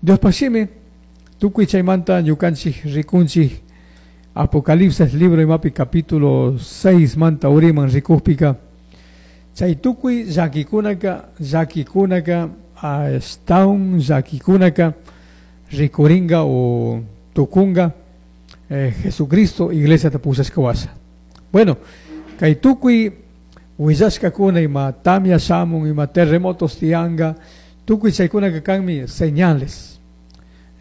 Diospaj shimi tukuy chaymanta ñukanchik rikunchik Apocalipsis libro imapi capítulo 6 manta uriman rikukpika, chay tukuy llakikunaka, llakikunaka ashtawan llakikunaka rikuringa o tukunga Jesucristo iglesiata pushashka washa. Bueno, kay tukuy willashkakuna, ima tamia shamun, ima terremotos tiyanga, tukuy chaykunaka kanmi señales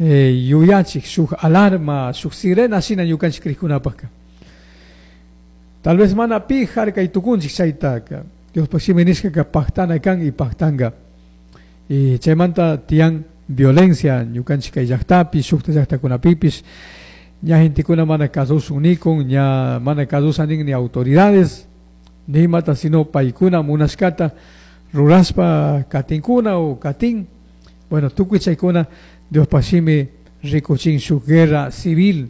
yuyachik, shuk alarma, shuk sirena shina ñukanchik krikkunapaka. Tal vez mana pi harkay tukunchik chaytaka, Diospaj shimi nishkaka paktana kan y paktanga. Y chaymanta tiyan violencia ñukanchik kay llaktapi, shukta llaktakunapipish, ña gentekuna mana kasushun nikun, ña mana kasusha nin ni autoridades, ni imata, sino paykuna munashkata rurashpa katinkuna o katin. Bueno, tukuy chaykuna Diospaj shimi rikuchin shuk guerra civil,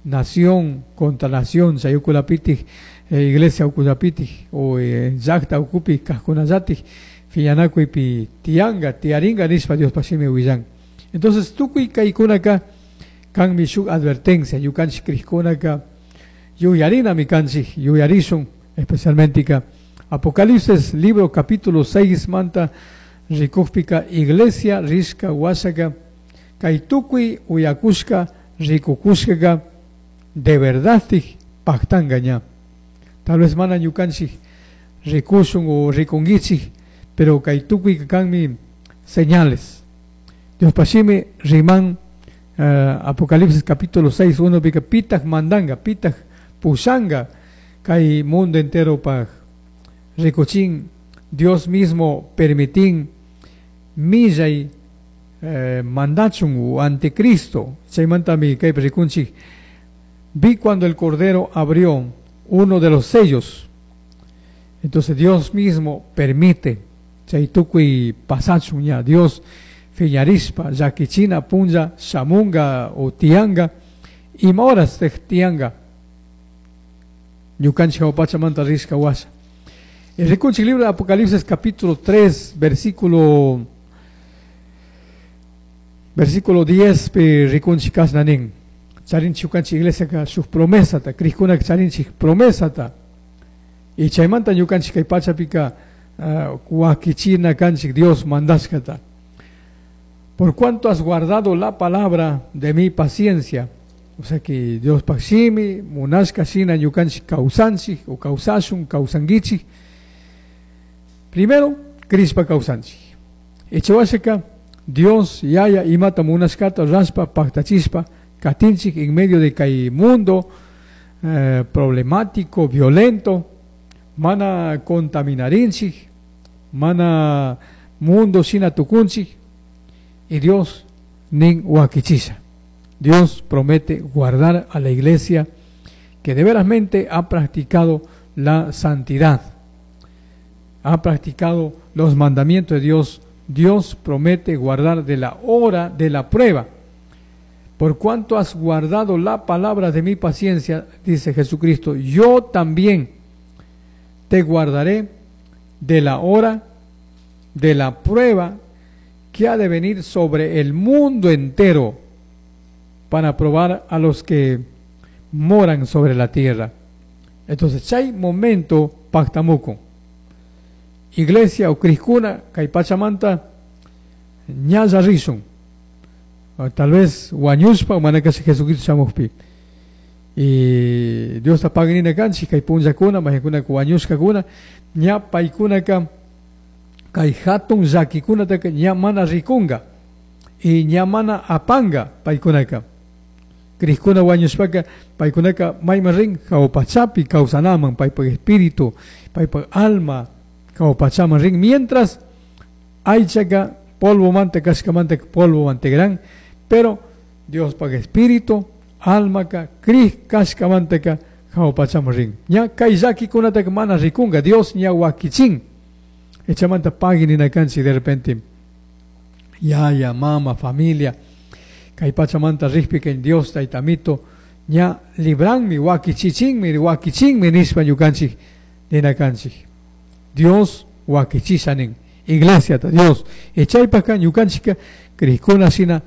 nación contra nación, chay ukulapitik, iglesia ukulapitik o llakta ukupi kajkunallatik fiñanakuypi tiyanga, tiyaringa nishpa Diospaj shimi willan. Entonces tukuy kaykunaka kanmi shuk advertencia, ñukanchik krikkunaka yuyarinami kanchik, yuyarishun especialmente ka Apocalipsis libro capítulo 6 manta rikukpika iglesia rishka washaka kay tukuy uyakushka rikukushkaka de verdad paktanga ña. Tal vez mana ñukanchik rikushun o rikunkichik, pero kay tukuy kanmi señales. Diospaj shimi riman Apocalipsis capítulo 6 1 pika pitaj mandanga, pitaj pushanga kay mundo entero paj rikuchin Dios mismo permitin millay mandachun u anticristo. Chaymantami kaypi rikunchik, vi cuando el Cordero abrió uno de los sellos. Entonces Dios mismo permite chay tukuy pasachun ña Dios fiñarishpa llakichina punlla shamunga o tianga, ima horas tianga ñukanchik jahua pachamanta rishka washa. El rikunchik libro de Apocalipsis capítulo 3 versículo 10 pi rikunchik kashna nin, charinchik ñukanchik iglesiaka shuk promesata, krikkunaka charinchik promesata, y chaymanta ñukanchik kay pachapika wakichina kanchik Dios mandashkata. Por cuanto has guardado la palabra de mi paciencia, o sea que Dios shimi munashka shina ñukanchik kawsanchik o kawsashun, kawsankichik, primero krishpa kawsanchik. Echawashaka Dios yaya imata munashkata rashpa paktachishpa katinchik en medio de kay mundo problemático, violento, mana contaminarinchik, mana mundo shina tukunchik, y Dios nin wakichisha. Dios promete guardar a la iglesia que de verasmente ha practicado la santidad, ha practicado los mandamientos de Dios. Dios promete guardar de la hora de la prueba. Por cuanto has guardado la palabra de mi paciencia, dice Jesucristo, yo también te guardaré de la hora de la prueba que ha de venir sobre el mundo entero para probar a los que moran sobre la tierra. Entonces, chay momento pactamuco. Iglesia o krikuna, kay pachamanta, ñalla rishun. O tal vez wañushpa, mana kasha Jesucristo shamukpi. Y Dios ta paginina kanchik, kay punllakuna, majikunaka wañushkakuna, ña paykunaka kay hatun llakikunataka ña mana rikunga y ña mana apanga paykunaka. Krikuna wañushpaka paykunaka mayman rin jahua pachapi kawsanaman, paypak espíritu, paypak alma jahua pachaman rin, mientras aychaka polvo manta kashkamanta polvo mantegran, pero Diospaj espíritu, almaka krik kashkamantaka jahua pachaman rin. Ña kay llakikunataka mana rikunga, Dios ña wakichin. Echamanta pagui nina kanchik de repente yaya, mama, familia, kay pachamanta rikpi kay Dios taytamito ña libranmi, wakichichinmi, wakichinmi nishpa ñukanchik nina kanchik. Dios wakichisha nin, iglesiata Dios. Echaypaka ñukanchika krikuna shina